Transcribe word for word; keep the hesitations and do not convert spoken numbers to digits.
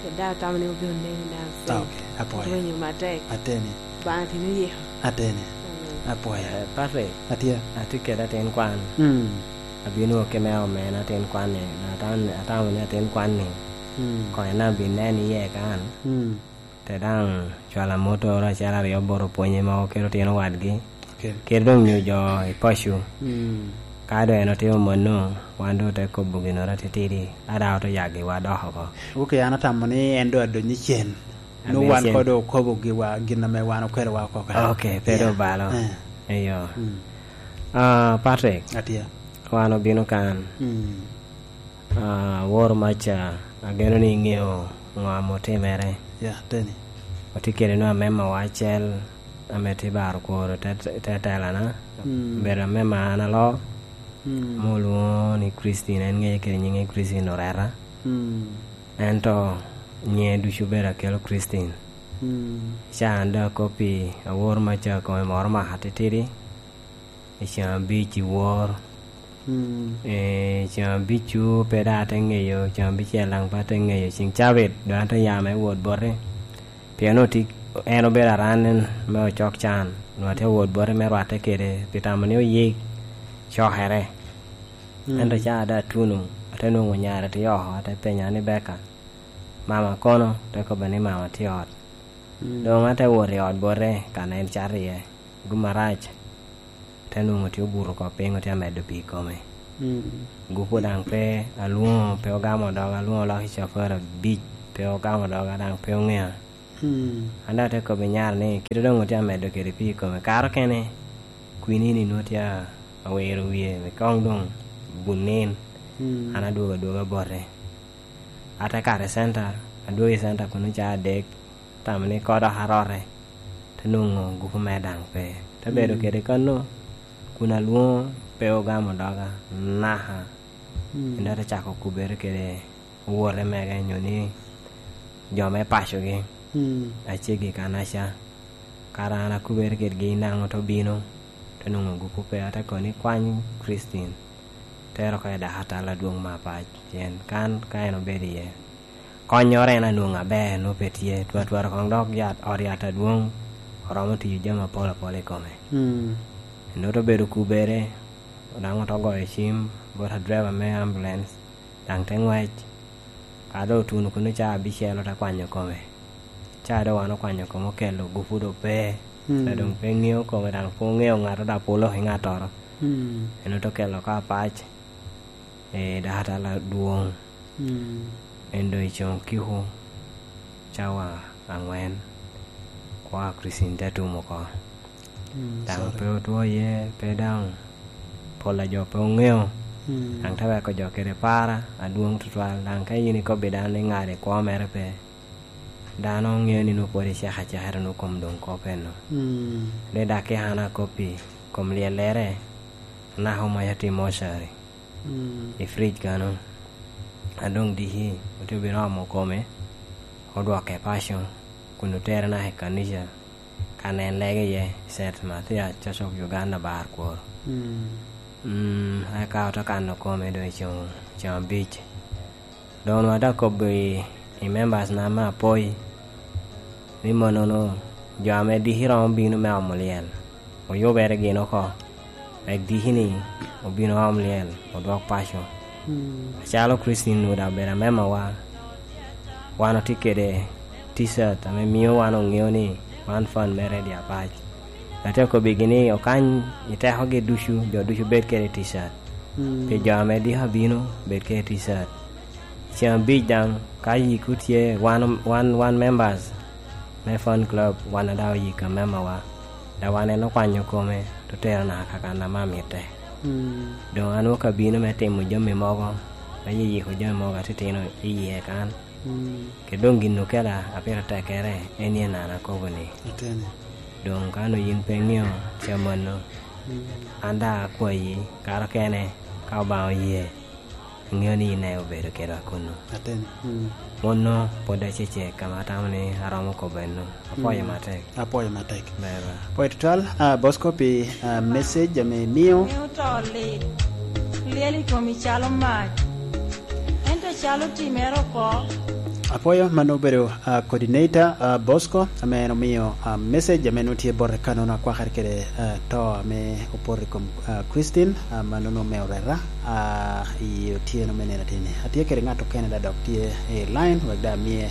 Pien daŋ atamo ni obino neni na. Ah, ok. Apwoyo. Rwenyo matek. Ateni. Obaŋa tini yiko. Ateni. Mm. Apwoyo. Eh, Patrick. Atye. Atye kede atin kwan. Mm. Abino ki me omena atin kwan-ni. Atan-, atamo ni atin kwan-ni. Mm. Kono en abin neno iye kan. Mm. Te daŋ cwalo amotoro acel aryo bot opwonye mogo kede otino wadgi. Ok. Kede doŋ nyo jo i paco. Mm. Ka doŋ en otimo mano, wan doŋ ote kobo ginnoro atitidi, a daŋ ote yagiwa dok oko. Ok, an atamo ni en doŋ adonyo i cen. Nwoŋo wan kono doŋ okobo giwa, gin ame wan okelowa oko kare. Ok, pe doŋ obalo. Eh. Eyo. Mm. Ah, Patrick. Atye. Wan obino kan. Mm. Ah, awor maca, ageno ni iŋeo ŋo ame otimere. Ya, teni. Otye kede nwa amemawa acel ame tye baro kworo te, te telana. Mm. Obedo amema an alo, mm, ame olwoŋo ni Christine, en ŋeye kede nyiŋe Christine Oreta. Mm. Ento nyiŋe ducu obedo akelo Christine. Mm. Ca an doŋ akoppi, awor maca kome moro maka titidi. I ceŋ abic i wor. Mm. Eh, ceŋ abic-cu pe daŋ ate ŋeyo, ceŋ abicel daŋ pe ate ŋeyo, ceŋ cabit doŋ ate ya me wot bote. Pien oti-, en obedo aran me ocok can, onwoŋo atye wot bote me rwatte kede, pi tamo ni oyik cokere. Mm. Ento ca ate atuno, ate nwoŋo nyare tye oko, ate penya ni, "Beka, mama kono?" Te kobbe ni, "Mama tye ot." Mm. Doŋ ate wot i ot bote, kan en cato iye. Gum arac, te nwoŋo tye obuto oko piny, otye amedo pii i kome. Mm. Gupu daŋ pe, alwoŋo pe ogamo doga, alwoŋo oloko i copere abic, pe ogamo doga, daŋ pe oŋea. Mm. An daŋ ate kobbi nyare ni, kite doŋ otye amedo kede pii i kome, kare okene kwinini nwoŋo tye a-, awiro wie, koŋ doŋ bun nin. Mm. An adwogo adwoga bote. Ate kato i centa, adwogo i centa kun oca adek, tamo ni koŋ dok arote, te nwoŋo gupu mere daŋ pe. Te bedo, mm, kede kano, kun alwoŋo pe ogamo doga, naka. Mm. Ento te cako kubere kede owote mege, nyo ni jo me pacogi, mm, aceggi kanaca. Kara an akubere kedgi, naŋo te obino, te nwoŋo gupu pe, ate kono ni, "Kwany Christine, ter oko i dakatal adwoŋ me apac, pien kan ka en obedo iye, konnyoro en anwoŋo aber, nwoŋo pe tye, twatwara koŋ dok yat, ot yat adwoŋ, oromo tiyo jami apol apol i kome." Mm. Ento te obedo kubere, daŋ ote goyo cim bot adreba me ambulance, daŋ te ŋwec. Ka doŋ otuno kuno ca abicel, ote kwanyo kome. Ca doŋ wan okwanyo kome, okelo gupu doŋ pe. Mm. Ca doŋ pe ŋeo kome, daŋ pe oŋeo ŋato, daŋ pe oloko i ŋattoro. Mm. En ote kelo oko apac, eh, dakatal adwoŋ. Mm. En doŋ i coŋ kiko, cawa aŋwen, kwa Kricin te tum oko. Mm, daŋ sorry. Pe otwo iye, pe daŋ pol a jo pe oŋeo. Mm. Daŋ te weko jo kede para adwoŋ tutwal. Daŋ ka in ikobbi dano ni ŋat i kwo mere pe, dano ŋeo ni nwoŋo pwod icek aceka, ento nwoŋo kom doŋ kop eno. Mm. Ni dak ki an akoppi kom lyellere, anaka omaca tye i mortuary. Mm. I fridge kano. A doŋ diki, otye obino omo kome, odwoke paco, kun otere naka i kanica, kan en lege iye, Saint Mathias Church of Uganda, Bar Kwor. Mm. Mm, eka ote kano kome doŋ i ceŋ, ceŋ abic. Doŋ onwoŋo ate akobo i, i members na me Apoi, ni mannono jo ame diki romo bino me omo lyel, oyubere gin oko, wek diki-ni obin oom lyel, odwok paco. Mm. Acalo Christine onwoŋo daŋ obedo amemawa, wan otye kede T-shirt ame mio wan oŋeo ni wan fan me Radio Apac. Atye akobbigi ni okany i tekogi ducu, jo ducu bed kede T-shirt. Mm. Pi jo ame diki abino, bed kede T-shirt. Ceŋ abic daŋ, ka yik otye, wan, wan, wan members me fan club, wan daŋ oyik amemawa. Daŋ wan en okwanyo kome, te otero naka ka kan ame amitte. Mm. Doŋ an wok abino me timo jami mogo, me yiyiko jami mogo atitino i yie kan. Mm. Kede doŋ gin okela a pire tekkere, en en an akobo ni. Ateni. Doŋ ka onwoŋo yin pe iŋeo ca mano, mm, an daŋ akwayi, kare okene, ka Obaŋa oye, aŋeo ni in daŋ obedo kedwa kunu. Ateni. Mm. Mano pwod acecek ame atamo ni aromo kobo eno. Apwoyo, mm, matek. Apwoyo matek. Ber, ber. Apwoyo tutwal, ah, Bosco, pi, ah, message ame imio. Miyo to lit, lyel i komi calo mac. Ento calo timere oko, Apwoyo, mano obedo, ah, coordinator, ah, Bosco, ame en omio, ah, message ame nwoŋo tye bote ka nwoŋo akwakere kede, ah, to ame opoto i kom, ah, Christine, ah, ma nwoŋo omeo reta, ah, i otyeno me nino ateni. Atye kede ŋat okene da dok tye i line, wek da amie,